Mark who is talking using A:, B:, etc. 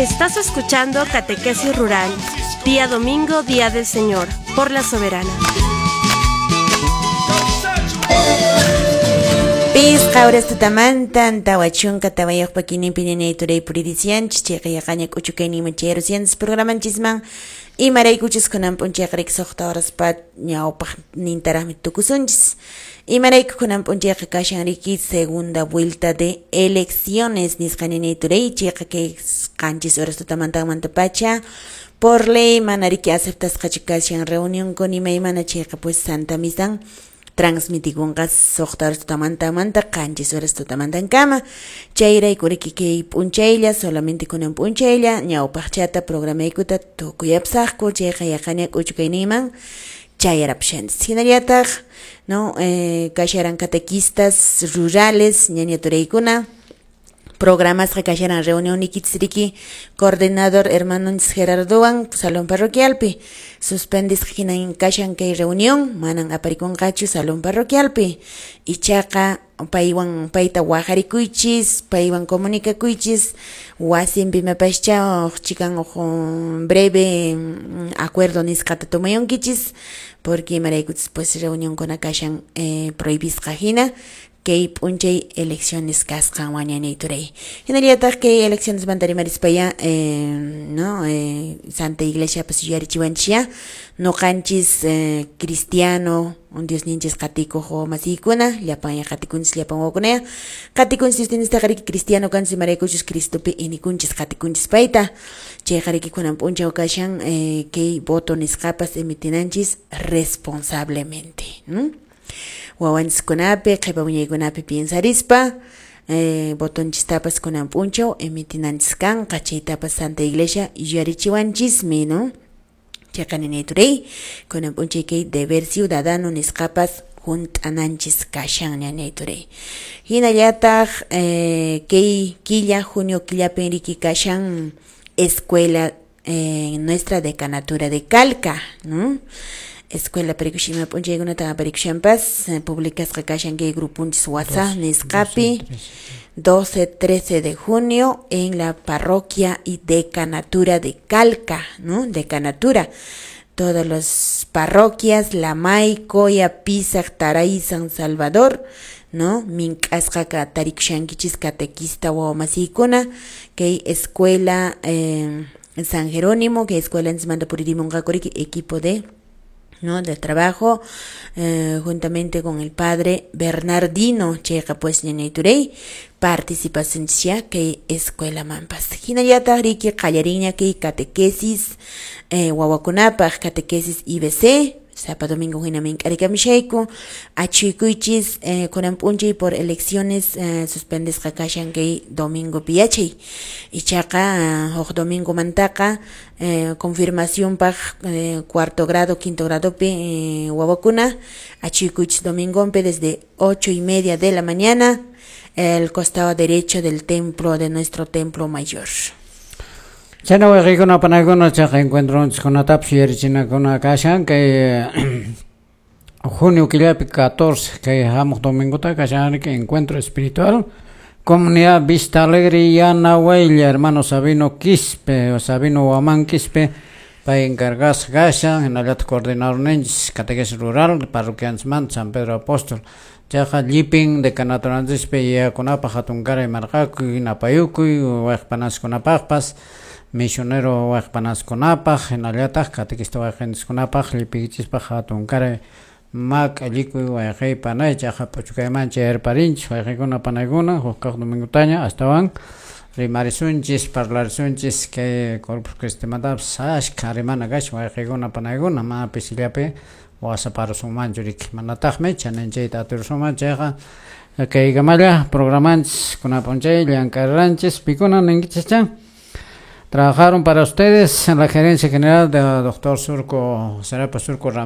A: Estás escuchando Catequesis Rural, día domingo, día del Señor, por la Soberana.
B: Pisqa horas tutamantan 44 kininpi ñañay turay puririsianchis chayqa yaqaña k'uchukayninman chayarusianchis programanchisman imaraykuchus kunan p'unchayqa riki 6 horaspa ñawpaqnintaraqmi tukusunchis. Imarayku kunan p'unchayqa kashan riki segunda vuelta de elecciones nisqa ñañay turay chayqa kay 7 horas tutamantanmantapacha por ley mana riki aceptasqachu kashan reunionkuna imaymana chayqa pues Santa Misan transmitikunqa 6 horas tutamantamanta 7 horas tutamantankama. Chayrayku riki kay p'unchaylla solamente kunan p'unchaylla ñawpaqchata programaykuta tukuyapsaqku chayqa yaqaña k'uchukayninman chayarapushanchis. Hinallataq no kasharan catequistas rurales ñaña turaykuna programasqa kasharan reunión nikichis riki coordinador hermanonchis Gerardowan salón parroquialpi suspendisqa hinan kashan kay reunión manan aparikunqachu salón parroquialpi ichaqa paywan payta wajarikuychis paywan comunicakuychis wasinpi mapascha uq chikan uq breve acuerdo nisqata tomayunkichis porque imaraykuchis pues reunionkuna kashan prohibisqa hina kay p'unchay elecciones kasqanwan ñañay turay. Hinallataq kay elecciones manta rimarispaya no Santa Iglesia pues yuyarichiwanchis nuqanchis cristiano Diosninchis qatikuq wawamasiykuna llapan qatikunchis llapan wawakunaya qatikunchis Diosninchistaqa riki cristiano kanchis imaraykuchus Cristopi inikunchis qatikunchis payta chayqa riki kunan p'unchaw kashan kay voto nisqapas emitinanchis responsablemente, ¿no? Wawanchiskunapi qhipa wiñaykunapi piensarispa votonchistapas kunan p'unchaw emitinanchis kanqa chaytapas Santa Iglesia yuyarichiwanchismi, ¿no? Chayqa ñañay turay kunan p'unchay kay deber ciudadano nisqapas hunt'ananchis kashan ñañay turay. Hinallataq kay killa junio killapin riki kashan escuela en nuestra decanatura de Calca, ¿no? Escuela parikushima p'unchaykunata aparikushanpas publicasqa kashan kay grupunchis WhatsApp nisqapi 12, 13 de junio en la parroquia y decanatura de Calca, ¿no? Decanatura. Todas las parroquias, Lamay, Coya, Pisac, Taray, San Salvador, ¿no? Mink'asqa tarikushankichis catequista wawamasiykuna kay escuela San Jerónimo, que escuela manda puririmunqaku riki equipo de ¿no? de trabajo juntamente con el padre Bernardino chayqa pues ñañay turay participación kay escuela manpas. Hinallataq riki qallarinña kay catequesis wawakunapaq catequesis IBC sapa domingo hina mink'arikamishayku achuykuychis kunan p'unchay por elecciones suspendesqa kashan kay domingo piyachay ichaqa huk domingo mantaqa confirmacionpaq cuarto grado quinto gradopi wawakuna achuykuychis domingonpi desde 8:30 de la mañana el costado derecho del templo de nuestro templo mayor.
C: Chayna wayqiykuna panaykuna chayqa encuentronchikkunatapas yuyarichinakuna kashan kay junio killapi 14 kay hamuq domingota kashan riki encuentro espiritual comunidad Vista Alegre Yanahuaylla hermano Sabino Quispe o Sabino Huamán Quispe pay encargasqa kashan hinallataq coordinadorninchis catequesis rural parroquianchismanta San Pedro Apóstol chayqa llipin decanaturanchispi yayakunapaq hatunkaray marqakuy napayukuy wayqpanaskunapaqpas misionero wayqpanaskunapaq hinallataq catequista wayqinchiskunapaq llipiykichispaq hatunkaray mak'allikuy wayqiy panay chayqa p'uchukayman chayarparinchis wayqiykuna panaykuna huk kaq domingutaña astawan rimarisunchis parlarisunchis kay Corpus Christimantapas ashkha rimana kashan wayqiykuna panaykuna mana pisillapi wasaparusunmanchu riki manataqmi chaninchayta atirusunman chayqa kaykamalla programanchis kunan p'unchay llank'ariranchis pikuna ninkichis chan. Trabajaron para ustedes en la gerencia general de doctor Surco, Serapa Surco Ramírez.